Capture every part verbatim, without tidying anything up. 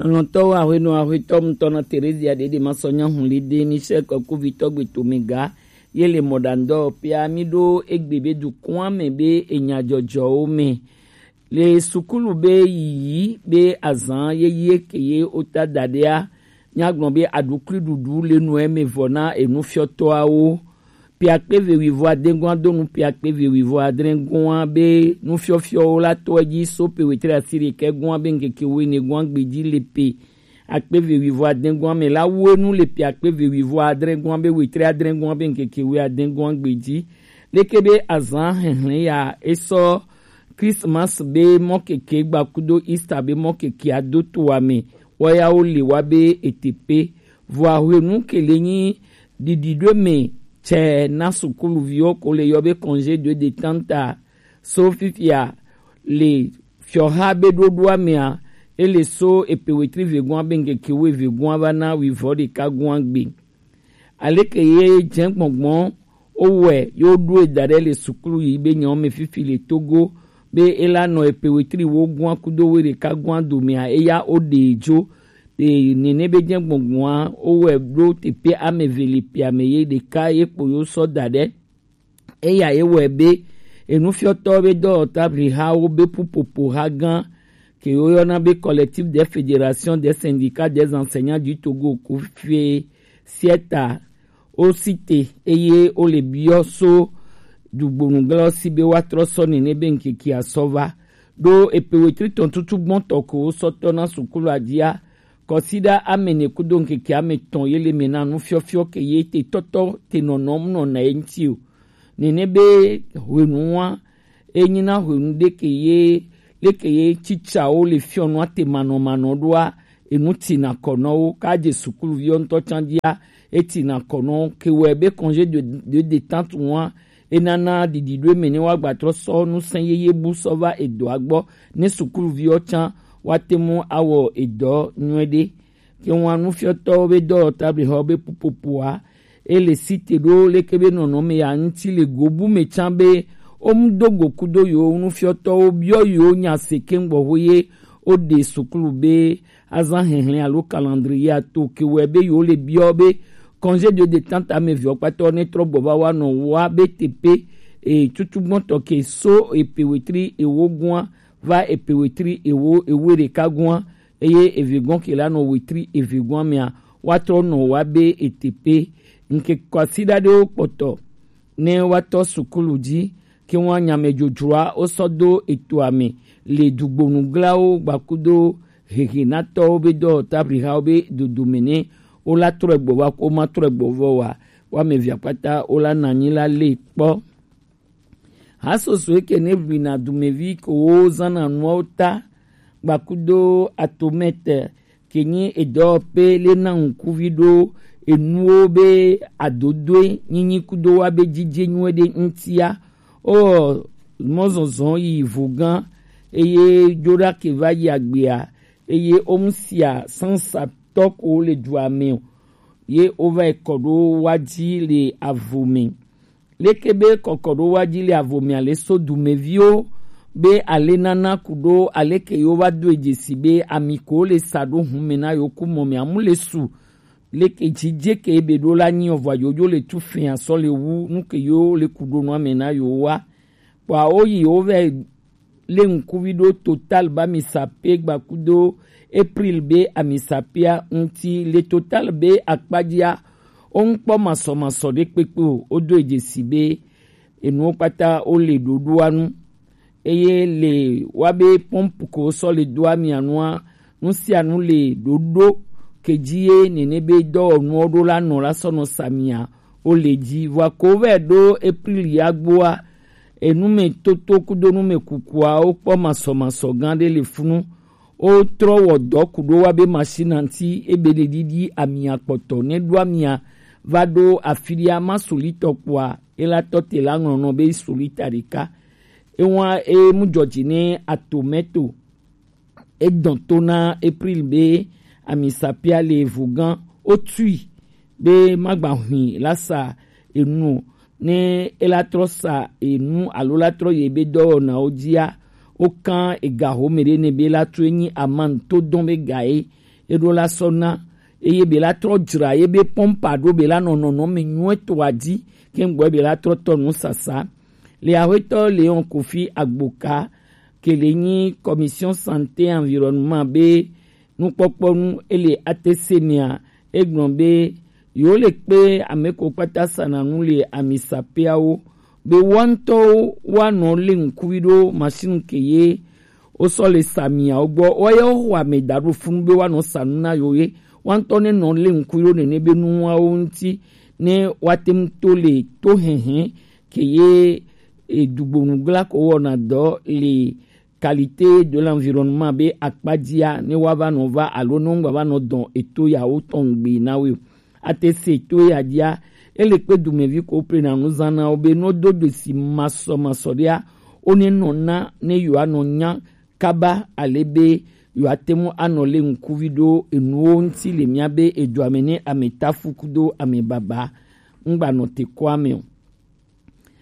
Lɔntɔwo ahwenu ahwetɔ ŋutɔ na Terezia ɖeɖe ma sɔ nya hun li de mi sɛ kɔkuvitɔ gbe to mi ga ye le mɔɖaŋdɔ pia mi ɖo egbe be dukɔa me be enya jɔjɔwo me le sukulu be yiyi be azan ye ye ke ye ota daɖea nyagblɔ be aɖukli ɖuɖu le nu eme vɔ na enufiɔtɔawo. Piakpe ve wivɔ adegɔa do nu piakpe ve wivɔ adregɔa be nufiɔfiɔwo la tɔ edzi so pe wetri asi ɖekɛ gɔa be ŋkeke wene gɔa gbedzi le pe akpe ve wivɔ adegɔa me la wo enu le piakpe ve wivɔ adregɔa be wetri adregɔa be ŋkeke we adegɔa gbedzi. Leke be azan hehlẽ ya esɔ Christmas be mɔkeke gbakudo Easter be mɔkeke ado to ame wɔyawo le wa be etepe vɔ ahwenu ke le nyi ɖiɖiɖo me tsɛ na sukuluviwo ko le yɔ be congé de détente. So fifia le fiɔha be ɖoɖoa mea ele so epe wetri vegɔa be ŋkeke wo evegɔa va na wivɔ ɖeka gɔa gbe. Aleke ye jɛ gbɔngbɔn wowɛ ye woɖo eda ɖe le sukulu yi be nyawo me fifi le Togo be ela nɔ epe wetri wo gɔa kudo we ɖeka gɔa domea eya woɖe dzo. Te nene be jɛ gbɔngbɔa wowɛ ɖo tepe ame ve le pe ame ye ɖeka ye kpo yo sɔ da ɖe. Eya ye wɔe be enufiɔtɔ be dɔwɔtablihawo be ƒuƒoƒo ha gã ke woyɔna be Collectif des Fédérations des Syndicats des Enseignants du Togo, ko fie sieta wo si te eye wo le biɔ so dugbonuglawo si be woatrɔ sɔ nene be ŋkekea sɔ va ɖo epe wetri tɔn tutu gbɔntɔ ko wo sɔ tɔ na sukulu adzia kɔsiɖa ame ne kudo ŋkeke ame tɔn ye le me na nufiɔfiɔ ke ye te tɔtɔ te nɔnɔm nɔ na ye ŋuti o. Nene be hwenua enyi na hwenu ɖeke ye leke ye tsitsawo le fiɔnua te manɔmanɔ ɖoa enu tina kɔnɔwo ka dze sukuluviwo ŋutɔ tsan dzia etina kɔnɔ ke wɔe be congé de, de détente ŋua enana ɖiɖiɖo eme ne woagbatrɔ sɔ nusẽ yeye bu sɔ va edɔa gbɔ ne sukuluviwo tsan woate ŋu awɔ edɔ nyuie ɖe. Ke ŋua nufiɔtɔwo be dɔwɔtablixɔ be ƒuƒoƒoa ele si te ɖo leke be nɔnɔme ya ŋuti le go bu me tsã be womu do go kudo yewo nufiɔtɔwo biɔ yewo nya se keŋ gbɔ ho ye woɖe sukulu be azã hehlẽ alo calendrier to ke wɔe be yewo le biɔ be congé de détente ame viɔ kpatɔ ne trɔ gbɔ va wa nɔ wa be tepe e tutu gbɔntɔ ke so epe wetri ewo gua va epe wetri ewo ewe ɖeka gua eye evegɔn ke la nɔ wetri evegɔn mea woatrɔ nɔ wa be etepe ŋke kɔsiɖa ɖewo kpɔtɔ ne woatɔ sukulu dzi ke ŋua nyamedzodzroa wosɔ do etoa me le dugbonuglawo gbakudo hehenatɔwo be dɔwɔtablihawo be dodome ne wola trɔe gbɔ va ko ma trɔe gbɔ vɔ wa woame evea kpata wola nanyi la le kpɔ. Hasoso eke ne ʋlina dumevi ko wo zana nuawo ta gbakudo atomɛte ke nyi edɔwɔƒe le na ŋkuvi ɖo enuwo be adodoe nyinyi kudo wa be dzidze nyuie ɖe ŋutia. O mɔzɔzɔ yi vo gã eye dzo ɖa ke va yi agbea eye omusia sansa tɔ ko le dua me o ye wova yi kɔ ɖo wa dzi le avo me. Leke be kɔkɔ ɖo wa dzi le avo me ale so dumeviwo be ale nana ku ɖo aleke yewo va do dzesi be ami ko le sa ɖo hun me na yewo ku mɔ me amu le su leke dzidze ke ebe ɖo la nyi ɔvɔ yoyo le tu fia sɔ le wu nu ke yewo le ku ɖo nua me na yewo wa. Kpɔa wo yi wo vɛ le ŋkuvi ɖo Total be ami sape gbakudo April be ami sapea ŋuti le Total be akpadzia wo ŋkpɔ masɔmasɔ ɖe kpekpe o wodo dzesi be enuwo kpata wo le ɖoɖoa nu eye le wa be pɔmpu ko sɔ le do amia nua nu sia nu le ɖoɖo ke dzi ye nene be dɔwɔnuwo ɖo la nɔ la sɔ nɔ samia wo le dzi vɔa ko vɛ ɖo April ya gboa Enumetoto kudo numekukuawo kpɔ masɔmasɔ gã ɖe le funu. Wotrɔ wɔ dɔ ku ɖo wa be machine ŋuti ebe le ɖiɖi amia kpɔtɔ ne ɖo amia va ɖo afi ɖia ma solitɔ kpɔa ela tɔ te la ŋlɔ nɔ be solita ɖeka. Ewa e mu dzɔdzi ne atometo. Edɔn to na April be ami sapia le vo gã wotui be magba hui la sa enu o. Ne ela trɔ sa enu alo la trɔ ye be dɔwɔnawo dzia, wokan ega home ɖe ne be la tu enyi aman to dɔn be ga ye e ɖo la sɔ na, eye be la trɔ dzra ye be pɔmpa ɖo be la nɔ nɔnɔme nyuietɔ a dzi, ke ŋgbɔ be la trɔ tɔ nu sasa. Le axwetɔ Leon Kofi Agboka, ke le nyi Commission Santé Environnement be nukpɔkpɔ nu ele A T C mea, egblɔ be yewo le kpe ame ko kpata sana nu le amisapeawo be woa ŋutɔwo woanɔ le ŋkuvi ɖo masinu ke ye wosɔ le sa miawo gbɔ, woayawo xɔ ame da ɖo funu be woanɔ sa nu na yewo ye woa ŋutɔ ne nɔ le ŋkuvi ɖo nene be nuwawo ŋuti ne woate ŋu to le to hɛhɛ ke ye edugbonu gla ko wɔna dɔ le qualité de l'environnement be akpadzia ne woava nɔ va alo ne wogba va nɔ dɔn eto yawo tɔn gbe na wo. A T C to ya dia, ele kpe dumevi ko ple na nu zan na wo be no do do si masɔ masɔ dia, o ne nɔ na ne yo anɔ nya kaba ale be yo ate mu anɔ le ŋkuvi ɖo enuwo ŋuti le mia be edu ame ne ame tafu kudo ame baba ŋgba nɔ te kɔ ame o.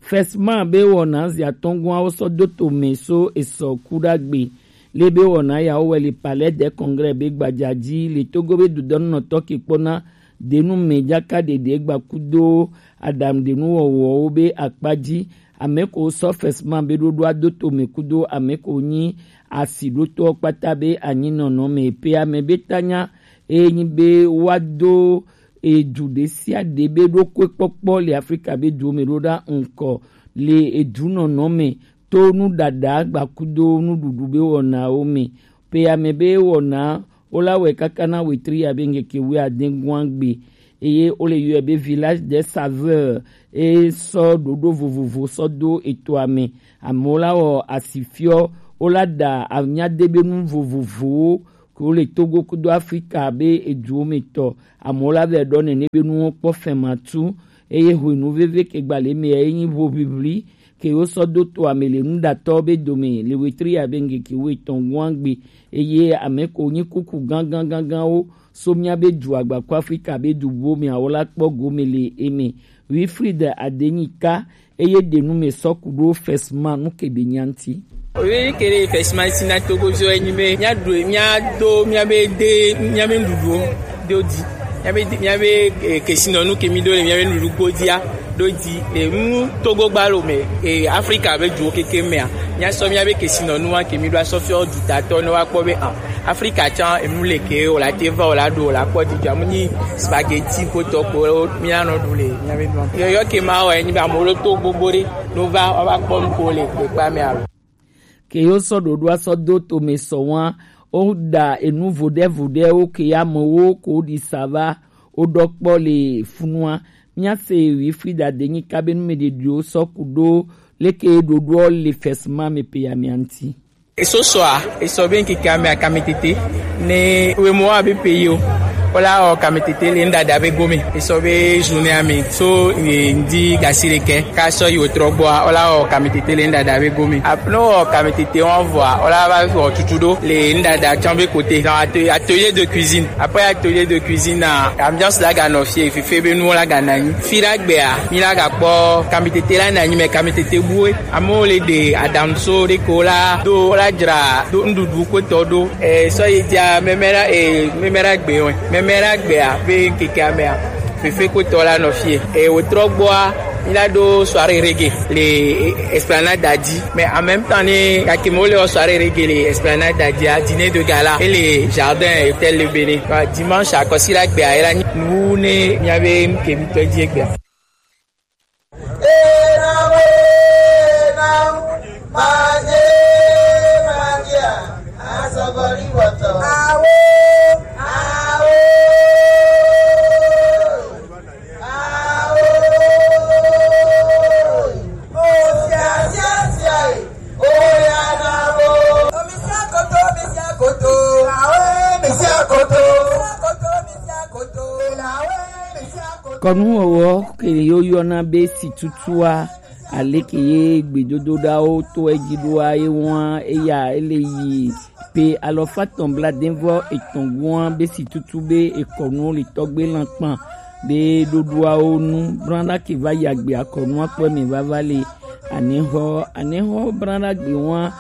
Fesma be wɔna zi atɔngɔawo sɔ do to mɛ so esɔ ku ɖagbe. Le be wɔna yawo wɛ le Palais des Congrès be gbadza dzi le Togo be dudɔnunɔtɔ ke kpɔna denu mɛ dzaka ɖeɖe gba kudo aɖaŋuɖenu wɔwɔwo be akpa dzi. Ame ko sɔ Fesma be ɖoɖoa do to mɛ kudo ame ko nyi asi ɖotɔ kpata be anyi nɔnɔ mɛ pe ame be tanya eye nyi be wa do edu ɖe sia ɖe be ɖokuekpɔkpɔ le Afrika be duwo me ɖo ɖa ŋkɔ le edunɔnɔ me to nuɖaɖa gbakudo nuɖuɖu be wɔnawo me. Pe ame be wɔna wola wɛ kaka na wetri abe ŋkeke wuiade gɔngbe eye wole yɔe be Village des Saveurs. E sɔ ɖoɖo vovovo sɔ do etoa me. Amewo la wɔ asifiɔ, wola ɖa anyadebenu vovovowo ko le Togo kudo Afrika be eduwo me tɔ. Amewo la vɛ ɖɔ nene be nuwo kpɔ fɛmatu eye hwenu veve ke gba le me ye nyi ʋoʋiʋli ke wo sɔ do to ame le nuɖatɔ be dome le wetri abe ŋkeke wuietɔn gɔngbe eye ame ko nyi kuku gangan ganganwo so mia be du agba ko Afrika be du buwo me awo la kpɔ gome le eme. Wilfried Adenyika eye ɖe nu me sɔ ku ɖo Fesma nu ke be nya ŋuti. Oye ke ɖe Fesma si na Togo viwo enyi be mia ɖu mia do mia be de mia be nuɖuɖuwo do di mia be mia be eh, kesinɔnu ke mi do le mia be nuɖuɖu godia do di le nu Togo gbalo me eh, Afrika be duwo keke mea mia sɔ mia be kesinɔnu wa ke mi do asɔ fiɔ dutatɔ ne wa kpɔ be ah Afrika tsã enu le ke wòle ate va wòle aɖo wòle akpɔ dzidzɔ amu nyi spaghetti kpotɔ kpo míanɔ ɖu le míabe dua. Yɔyɔ ke ma wɔ enyi be amewo ɖo to gbogbo ɖe ɖo va woava kpɔ nuko le kpekpea me alo. Ke yo sɔ ɖoɖoa sɔ do tome sɔ wa woɖa enu voɖevoɖewo ke amewo ko ɖi sa va woɖɔ kpɔ le funua. Míase Wilfried Adenyika be numeɖeɖiwo sɔ ku ɖo leke ɖoɖoɔ le Fesma me pe ya mia ŋuti. Esosɔa, esɔ be ŋkeke ame akamɛtete ne wemɔ abe peyi o. Wola wɔ kamɛtete le ŋdada be gome. Esɔ be journée ame so ŋdi gasi ɖekɛ ka sɔ yi wotrɔ gbɔa wola wɔ kamɛtete le ŋdada be gome. Ape ne wɔ kamɛtete wɔn vɔa wola va wɔ tutu ɖo le ŋdada tsã be kote. Dans atelier de cuisine. Après atelier de cuisine na ambiance la ga nɔ fie fife be nuwo la ga nanyi. Fi la gbea mi la ga kpɔ kamɛtete la nanyi mɛ kamɛtete bue. Amewo le ɖe aɖaŋuso ɖe ko la do la dzra do nuɖuɖu kpotɔ ɖo. Esɔ yi dzia mɛmɛra e mɛmɛra gbe wɛ mɛmɛra gbea be ŋkeke amea fefe kpotɔ la nɔ fie e wotrɔ gbɔa mi la ɖo soirée reggae le esplanade dzi mais en même temps ne gake mo le soirée reggae le esplanade dzia dîner de gala e le jardin hôtel le Bénin dimanche akɔsi la gbea e la nyi nu ne miabe ŋkemi tɔ dzi egbea. Ena we, ena, manye, manye, asɔgɔli wɔtɔ. Awo, awo, awo. O sia, sia, sia, e. O ya na wo. O mi sia koto, mi sia koto. Awo, mi sia koto. Mi sia koto, mi sia koto. Awo, mi sia koto. Kɔnuwɔwɔ ke ye woyɔna be situtua, aleke ye gbedodoɖawo to edzi ɖoa ye wɔa eya ele yi pe alɔfa tɔn bladenvɔ etɔn goa be situtu be ekɔnuwo le tɔgbe lankpan be ɖoɖoawo nu brana ke va yi agbe akɔnua kpɔ me vava le anehɔ anehɔ brana gbe wɔa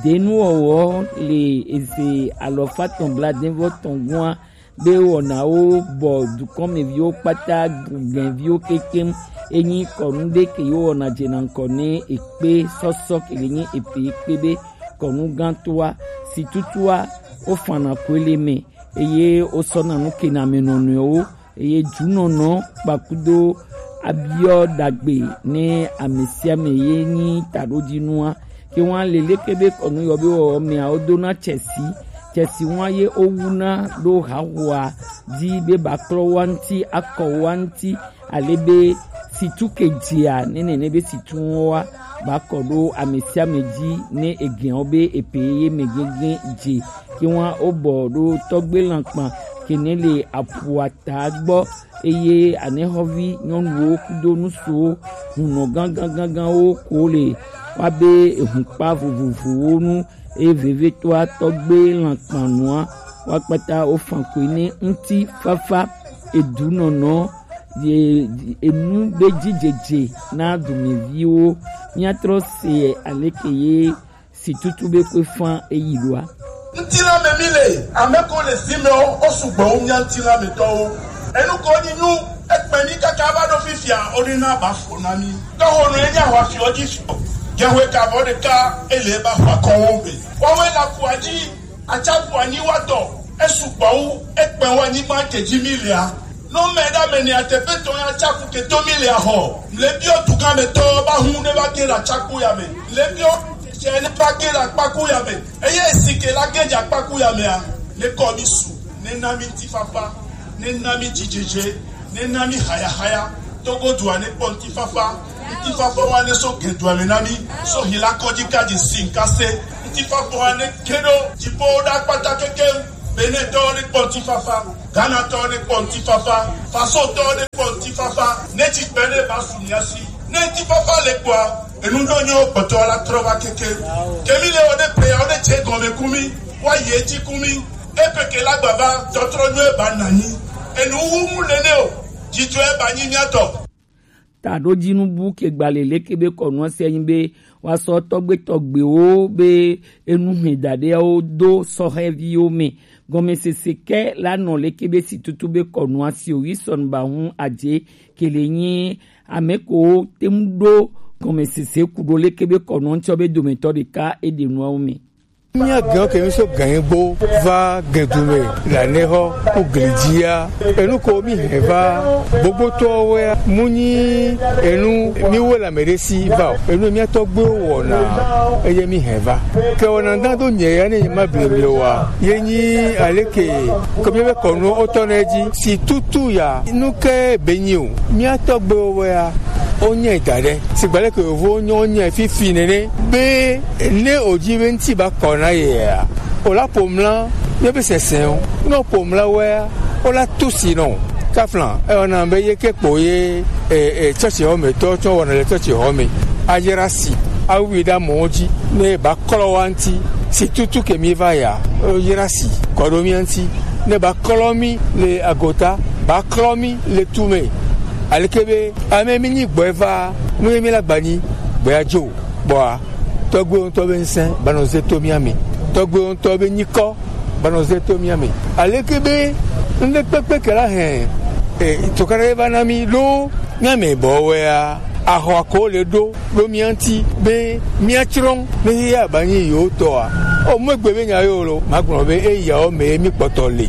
denuwɔwɔ le eze alɔfa tɔn bladenvɔ tɔn goa be wɔnawo bɔ dukɔnmeviwo kpata, gɛnviwo kekeŋ. Enyi kɔnu ɖe ke yewo wɔna dzena ŋkɔ ne ekpe sɔsɔ ke le nyi epe ekpe be kɔnu gãtoa, si tutua, wofana koe le me, eye wosɔna nu kena ame nɔnɔewo, eye dunɔnɔ kpakudo abiɔ dagbe ne ame sia ame ye nyi taɖodzinua. Ke wan le leke be kɔnu yɔ be wɔwɔ mea, wodona tsɛsi, tsɛsi wan ye wowuna ɖo hahoa dzi be baklɔ wa ŋuti, akɔ wa ŋuti, ale be situ ke dzia, ne nene be situ wɔa, bakɔ ɖo ame sia ame dzi, ne egɛ̃ɔ be epe ye me gɛgɛ dze. Ke wan wobɔ ɖo tɔgbe lankpa ke ne le aƒua ta gbɔ, eye anexɔvi nyɔnuwo kudo nusuwo hunɔ gãgãgãgãwo ko le wa be ehunkpa vovovowo nu, eye vevietɔa tɔgbe lankpanua wa kpata wofan koe ne ŋutifafa, edunɔnɔ, ye enu be dzidzedze na dumeviwo. Míatrɔ se aleke ye si tutu be koe fã eyi ɖoa? Ŋutilã me mi le, ame ko le zi me wo, wo sugbɔ wu mía ŋutilã me tɔwo. Enu ko ni nyu, ekpe mi kaka va ɖo fifia, wo ɖe na ba fo na mi. Tɔho nɔ enya wa fiɔ dzi fiɔ. Jehwe ka vɔ ɖeka, ele ba hwa kɔwo me. Wɔwɛ la kua dzi, atsaƒu anyi wa tɔ, esu gbɔ wu, ekpe wa anyigba ke dzi mi lea. No me ɖa me ne ateƒe tɔ ya tsaƒu ke to mi lea xɔ. Le biɔ duga me tɔ ba hu ne va ke la tsaƒu ya me. Le biɔ tsɛ ne va ke la kpaku ya me. Eye si ke la ke dza kpaku ya mea, ne kɔ mi su, ne na mi ŋutifafa, ne na mi dzidzedze, ne na mi hayahaya. Togo dua ne kpɔ ŋutifafa, ŋutifafa wa ne so ge dua me na mi, so hila kɔdzi ka dzi si ŋka se, ŋutifafa wa ne ke ɖo dziƒo ɖa kpata keke, Benetɔwo ne kpɔ ŋutifafa, Ghanatɔwo ne kpɔ ŋutifafa, Fasotɔwo ne kpɔ ŋutifafa, ne tsi gbe ne ba su mia si, ne ŋutifafa le kpɔa, enu ɖo nyo kpɔtɔ la trɔ va keke. Kemi le wo ne pe ya wo ne tse gɔme kumi, wa ye dzi kumi, epe ke la gbava, tɔtrɔ nyo ba nanyi, enu wu mu le ne o, dzidzɔ ba nyi mia tɔ. Taɖodzinu bu ke gbalẽ leke be kɔnua sia nyi be woasɔ tɔgbe tɔgbewo be enu hɛn daɖeawo do sɔhɛviwo me. Gɔmesese ke la nɔ leke be si tutu be kɔnua si o yi sɔn ba hu adze ke le nyi ame ko te ŋu ɖo gɔmesese ku ɖo leke be kɔnua ŋtsɔ be dometɔ ɖeka eɖe nuawo me. Mía gɛ̃wo ke mi so gɛ̃ gbo va gɛ̃du me le anexɔ ku gli dzia. Enu ko mi hɛn va gbogbotɔwo wɛa, mu nyi enu mi wo le ame ɖe si va o. Enu mía tɔgbuiwo wɔna, eye mi hɛn va. Ke wɔna da do nyɛ ya ne nyi ma ble mi wa. Ye nyi aleke ko mi be kɔnu o tɔ ne dzi. Si tutu ya, nu ke be nyi o. Mía tɔgbuiwo wɛa, o nyɛ da ɖe. Sigba leke yovo nyɔ nyɛ fifi nene. Be ne o dzi be ŋuti ba kɔ na yea, o la ƒo mla míaƒe sesẽ o. Ne o ƒo mla wɔea, o la tu si nɔ. Kafla, eyɔna be ye ke kpo ye, e, e, tsɔtsi xɔ me tɔ tsɔ wɔna le tsɔtsi xɔ me. Ayra si, awui ɖe amewo dzi, ne ba klɔ wa ŋuti, si tutu ke mi va ya, o yra si, kɔ ɖo mía ŋuti, ne ba klɔ mi le agota, ba klɔ mi le tu me. Aleke be, ame mi nyi gbɔe va, nu ye mi la gba nyi, gbɔe adzo. Kpɔa, tɔgbuiwo ŋutɔ be ŋusẽ banɔ ze to mía me. Tɔgbuiwo ŋutɔ be nyikɔ banɔ ze to mía me. Aleke be ŋɖekpekpe ke la hɛn, e, tukaɖa ye va na mí ɖo mía me bɔwɛa, axɔa ko le ɖo ɖo mía ŋuti be míatsrɔ̃ ne xexea ba nyi yewo tɔa. O, megbe be nya yewo lo, magblɔ be eyawo me ye mí kpɔtɔ le.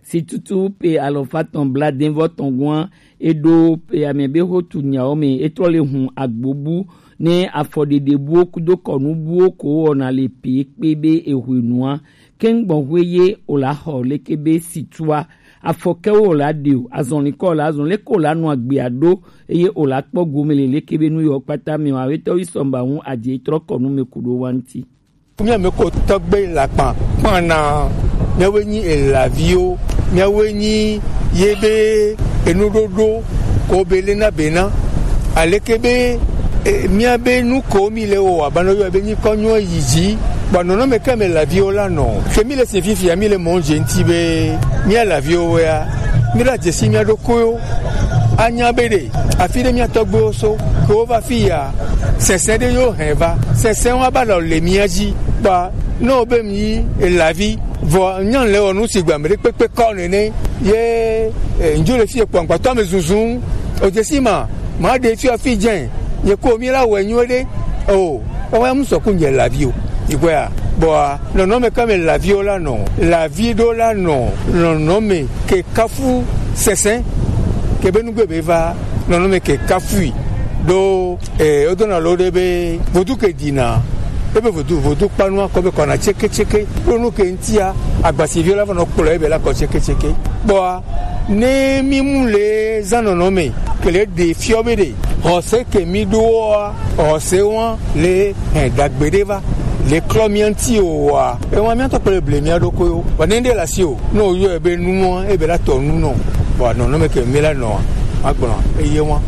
Si tutu pe alɔfa tɔn blaadevɔ tɔn gɔn, eɖo pe ame be xo tu nyawo me, etrɔ le hun agbobu ne afɔɖeɖebuwo kudo kɔnubuwo ko wɔna le pe kpe be ehwenua. Ke ŋgbɔnxwe ye o la xɔ leke be situa, afɔkewo o la ɖe o, azɔlikɔ o la zɔn, leke o la nɔ agbea ɖo, eye o la kpɔ gome le leke be nu yɔ kpata me o, awetɔ yi sɔmba ŋu adze trɔ kɔnu me ku ɖo wa ŋuti. Mía me ko tɔgbe lakpan kpana, míawoe nyi elaviwo, míawoe nyi ye be enuɖoɖo ko be lena bena. Aleke be, e, mía be nu ko mi le wɔ, abanɔ yɔ be nyikɔ nyɔ yi dzi, kpɔ nɔnɔme ke me elaviwo la nɔ. Ke mi le si fifia, mi le mɔ dze ŋuti be mía elaviwo wɛa, mi la dzesi mía ɖokuiwo. Anya be ɖe, afi ɖe mía tɔgbuiwo so, ke wo va fi ya, sɛsɛ ɖe yo hɛn va. Sɛsɛ wa ba lɔ le mía dzi. Ba, no be mi yi elavi, vɔ nyan le wɔ nu si gba mi ɖe kpekpe kɔ nene. Ye, eh, njo le fi ekpɔ agbata me zunzun. O je si ma, ma ɖe fi afi dze. Nye ko mi la wɔ nyuie ɖe. O, o wa mu sɔ ku nye lavi o. Igwe a. Bɔa, nɔnɔme ka me laviwo la nɔ. Lavi ɖo la nɔ. Nɔnɔme ke kafu sese. Ke be nugbe be va. Nɔnɔme ke kafui. Ɖo, eh, o dona lo ɖe be. Vodu ke dina. Ebe vodu, vodu kpanu akɔ be kɔna tseke tseke. Ɖo nu ke ŋtia, agbasiviwo la va nɔ kplɔ ebe la kɔ tseke tseke. Bɔa, ne mi mu le zã nɔnɔme. Ke le ɖe fiɔ be ɖe. Xɔse ke mi ɖo wa, xɔse wa le hɛn dagbe ɖe va. Le klɔ mia ŋti o wa. E wa mia tɔ kple ble mia ɖo ko yo. Wa ne ɖe la si o. No yɔ ebe nu wa, ebe la tɔ nu nɔ. Wa nɔnɔme ke mi la nɔ. Agblɔ eye wa.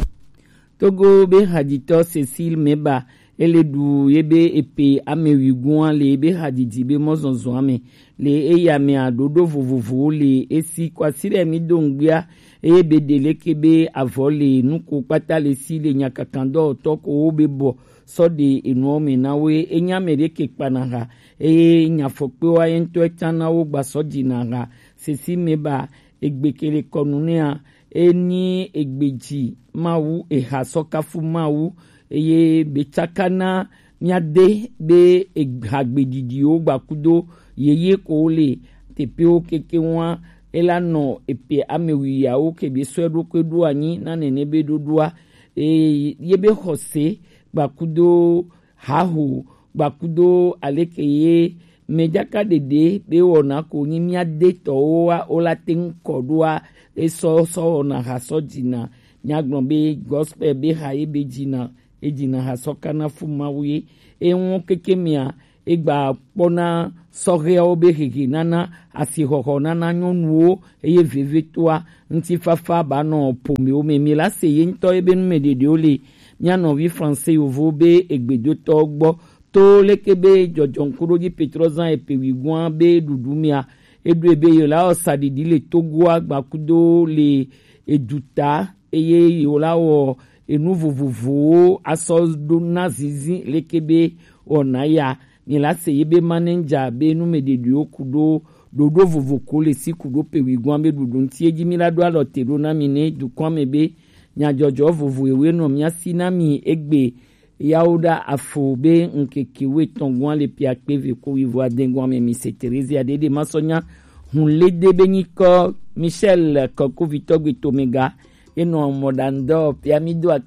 Togo be hadzitɔ Cécile Meba, ele ɖu ye be epe ame wuigoa le ye be hadzidzi be mɔzɔzɔa me. Le eya mea ɖoɖo vovovowo le esi kwasi ɖe mi do ŋgbia, eye be ɖe leke be avɔ le nuko kpata le si le nyakakandɔwɔtɔ ko wo be bɔ sɔ ɖe enuɔ me na wo ye. Enya me ɖe ke kpana ha, eye nyafɔkpewa ye ŋutɔ etsa na wo gba sɔ dzi na ha. Cécile Meba, egbe ke le kɔnu nɛa, enyi egbe dzi Mawu, eha sɔ kafu Mawu, eye be tsaka na mia de be hagbeɖiɖiwo gbakudo yeye ko le teƒewo keke ŋua, ela nɔ epe ame wuiawo ke be sɔe ɖokui ɖo anyi na nene be ɖoɖoa, eye ye be xɔse gbakudo haho gbakudo aleke ye mejaka ɖeɖe be wɔna ko nyi mia de tɔwo wa wo la te ŋu kɔ ɖoa, esɔ sɔ wɔna ha sɔ dzina. Nyagblɔ be gospel be ha ye be dzina, e dzina ha sɔ kana fu Mawu ye. Eŋu keke mia, egba kpɔna sɔhɛawo be hehe nana, asixɔxɔ nana nyɔnuwo, eye vevetoa ŋutifafa ba nɔ ƒomewo me. Mi la se ye ŋutɔ ye be nu me ɖeɖewo le mia nɔvi français yovo be egbedotɔ gbɔ. To leke be dzɔdzɔŋkuɖodzi Petro zã epe wigoa be ɖuɖu mia, eɖoe be yewo la wɔ saɖiɖi le Togoa gbakudo le eduta, eye yewo la wɔ enu vovovowo asɔ ɖo na zizi leke be wɔna ya. Mi la se ye be manager be nu me ɖeɖewo ku ɖo ɖoɖo vovo ko le si ku ɖo pe wigoa be ɖuɖu ŋuti edzi mi la ɖo alɔ te ɖo na mi ne dukɔa me be nyadzɔdzɔ vovo ewe nɔ mia si na mi egbe yawo ɖa afo be ŋkeke wuietɔ̃ gɔ̃a le pia kpe ve ko wivo adẽ gɔ̃a me mi se Terezia ɖeɖe ma sɔ nya hun le de be nyikɔ Michel Kɔkovitɔ gbe tomega enɔ mɔɖaŋdɔ pia mi do akpe